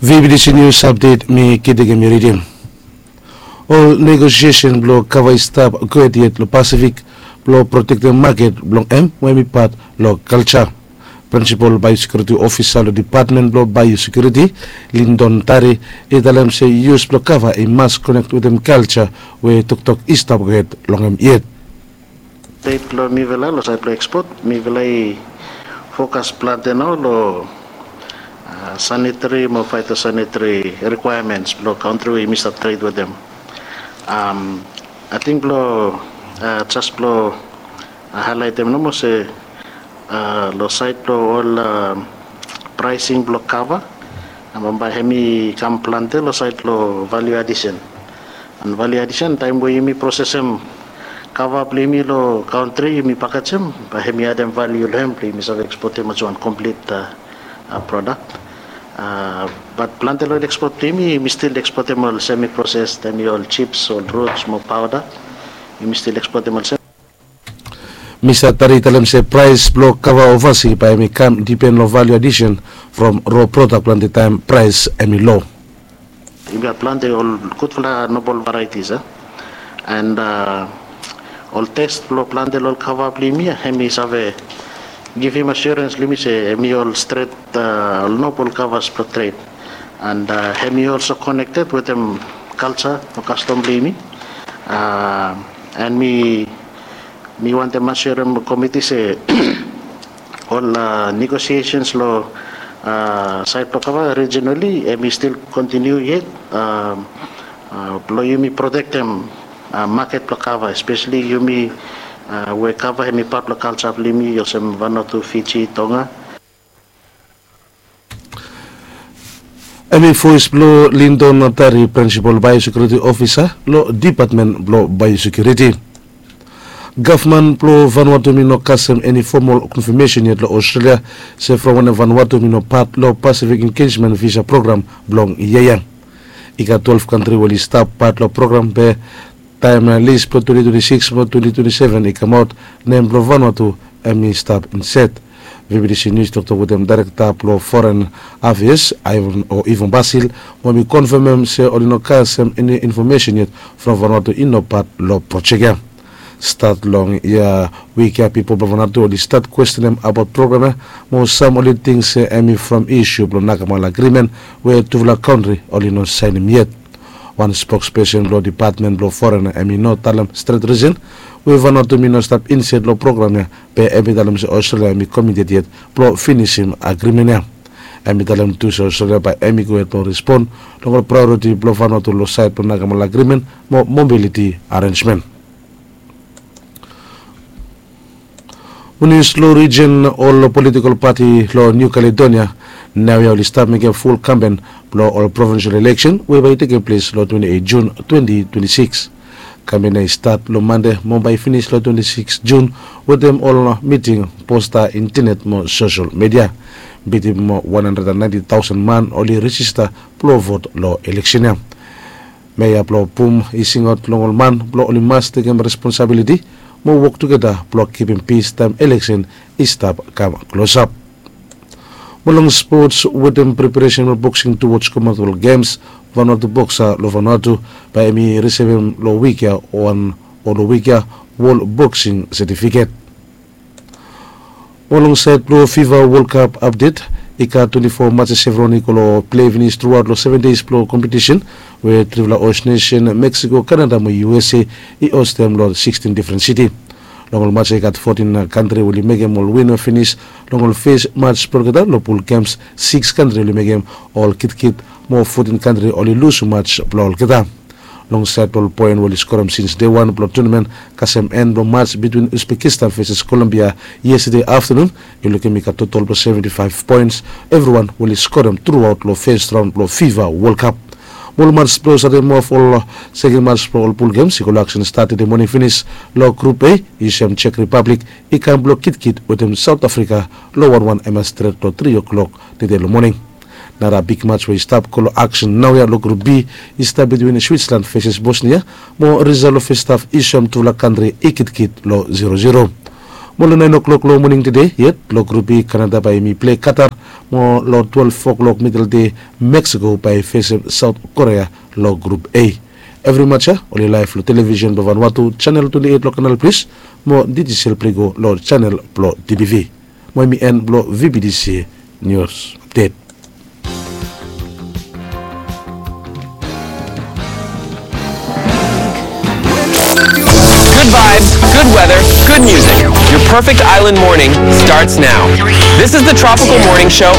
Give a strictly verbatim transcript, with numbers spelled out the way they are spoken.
Vbtc nius apdet mi kitik em i ridim. Ol negosiesen blong kava i stap gohed yet long Pasifik blong protektem maket blong em we em i pat long kalja. Prinsipal baiosekiuriti ofisa long depatmen blong baiosekiuriti, Lindon Tari, i talem se yus blong kava i mas konek wetem kalja we toktok i stap gohed long em yet. Stet blong mifala long sait blong ekspot, mifala i fokas plante nao long sanitari mo faitosanitari rikwaemens blong kantri we yumi stap tret wetem. Ating blong jas blong haelaitem nomo se long sait blong ol praesing blong kava, bambae hem i kam plante long sait blong valiu adisen. An valiu adisen taem we yumi prosesem kava blong yumi long kantri, yumi pakejem, bae hem i adem valiu long hem blong yumi save ekspotem olsem wan komplit prodak. Bat plante long ol ekspot blong yumi, yumi stil ekspotem ol semi proses, taem i ol jips, ol ruts mo paoda, yumi stil ekspotem olsem. Mista Tari i talem se praes blong kava ovasi bae hem i kam dipen long valiu adisen from ro prodak plante taem praes hem i lo. Yumi gat plante ol gudfala nobol varaitis a, an ol tes blong plante long ol kava blong yumi ya, hem i save givim asiorens long yumi se hem i ol stret, ol nobol kavas blong tret. An hem i olso konekted wetem kalja o kastom blong yumi. An mi mi wantem asirem komiti se ol negosiesens long sait blong kava rijinali hem i stil kontiniu yet blong yumi protektem maket blong kava, espesali yumi we kava hem i pat blong kalja blong yumi olsem Vanuatu, Fiji, Tonga. Hem i voes blong Lindon Tari, prinsipal baiosekiuriti ofisa long depatmen blong baiosekiuriti. Gavman blong Vanuatu hem i no kasem eni fomol konfamesen yet long Australia se from wanem Vanuatu hem i no pat long Pasifik Engejmen Visa Program blong yia ya. I gat twelef kantri we oli stap pat long program be taem lis blong twenti twenti sikis mo twenti twenti seven i kamaot, nem blong Vanuatu hem i stap inset. Vbtc nius i toktok wetem daerekta blong foren afeas o Ivan Basil, mo hem i konfamem se oli no kasem eni infomesen yet from Vanuatu i no pat long projek ya. Stat long yia wik ya pipol blong Vanuatu oli stat kwestenem abaot program ya, mo sam oli ting se hem i from isu blong Nagamala Agrimen we tufala kantri oli no saenem yet. Wan spokspesen blong depatmen blong foren hem i no talem stret risen we Vanuatu hem i no stap inset long program ya, be hem i talem se Australia hem i komited yet blong finisim agrimen ya. Hem i talem tu se Australia bae hem i gohed blong respon long ol praeoriti blong Vanuatu long sait blong Nagamala Agrimen mo mobiliti arenjmen. Winis long rijin, ol politikol pati long Niu Kaledonia naoia oli stap mekem ful kampen blong ol provinsel eleksen we bae i tekem ples long twenti eit Jun twenti twenti sikis. Kampen ya i stat long Mande mo bae i finis long twenti sikis Jun wetem ol miting, posta, intenet mo sosel midia. Bitim wan handred an naenti taosen man oli rejista blong vot long eleksen ya. Meya blong Bum i singaot long ol man blong oli mas tekem responsabiliti mo wok tugeta blong kipim pis taem eleksen i stap kam klosap. Mo long spots, wetem preparesen blong boksing tuwoj Commonwealth Games, Vanuatu boksa long Vanuatu bae hem i risivim long wik ya wan o long wik ya wol boksing setifiket. Mo long saed blong fifa Wol Kap apdet, i gat twenti fo matses evriwan i go long plei finis truaot long seven deis blong kompetisen we trifala os nesen Meksiko, Kanada mo USA i ostem long sikstin difren siti. Long ol mats ya i gat fotin kantri we oli mekem ol win we finis long ol fes mats blong olgeta. Long pul gems, siks kantri oli mekem ol kitkit mo fotin kantri oli lus mats blong olgeta. Long saed blong ol poen we oli skorem sins dei wan blong tunamen kasem en blong mats bitwin Uzbekistan veses Kolombia yestade aftanun, yu lukim i gat totol blong seventi faef poens evriwan we oli skorem truaot long fes raon blong fifa Wol Kap. Mo ol mats blong start mof ol seken mats blong ol pul gems i go long aksen stat tede moning finis. Long grup A, yu sem Jek Ripablik i kam blong kitkit wetem Saot Afrika long wanwan, hem ya stret long tri o'klok tede long moning. Nara big mats we i stap go long aksen naoia long grup B i stap bitwin Switsland veses Bosnia, mo risal long fes haf i soem tufala kantri i kitkit long zero zero. Mo long naen o'klok long moning tede yet long grup i, Kanada bae yumi pilei Katar. Mo long twelef o'klok midel dei, Meksiko bae i fesem Saot Korea long grup A. Evri match ya oli laef long televisen blong Vanuatu, chanel twenti eit long Kanal Plis, mo dijital blong i go long chanel blong TBV. Mo hemi en blong VBTC nius apdet. Good vibes, good weather, good music. Your perfect island morning starts now. This is the Tropical Morning Show